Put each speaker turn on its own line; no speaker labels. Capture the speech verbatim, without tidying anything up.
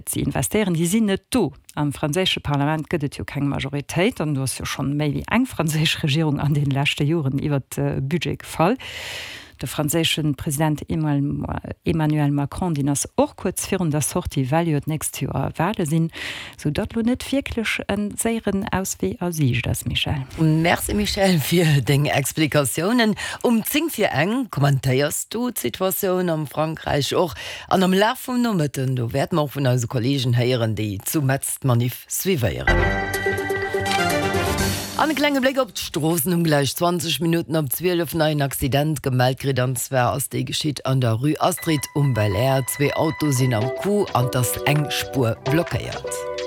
ze investéieren, déi sinn net do. Am franséische Parlament gëtt et jo keng Majoritéit an do ass jo schonn méi wéi eng franséisch Regierung an deene leschte Joren iwwert de Budget gefall. De franséische President Emmanuel Macron, deen ass och kuerz virun der Sortie, well jo d'nächst Joer Wale sinn, sou datt lo net wierklech e séieren Auswee a Siicht ass, Michèle.
Merci Michèle fir deng Explikatiounen. Um zéng vir eng kommentéiers du d'Situatioun am Frankräich och an am Laf vum Nomëtten, do wäerte mer och vun eise Kollegen héieren, déi zu Metz d'Manif suivéieren. An e klenge Bléck op d'Stroossen um gläich zwanzeg Minutten op zwielef neien Accident gemellt kritt. An zwar ass dee geschitt an der Rue Astrid um Belair. Zwee Auto sinn am Coup an et ass eng Spuer blockéiert.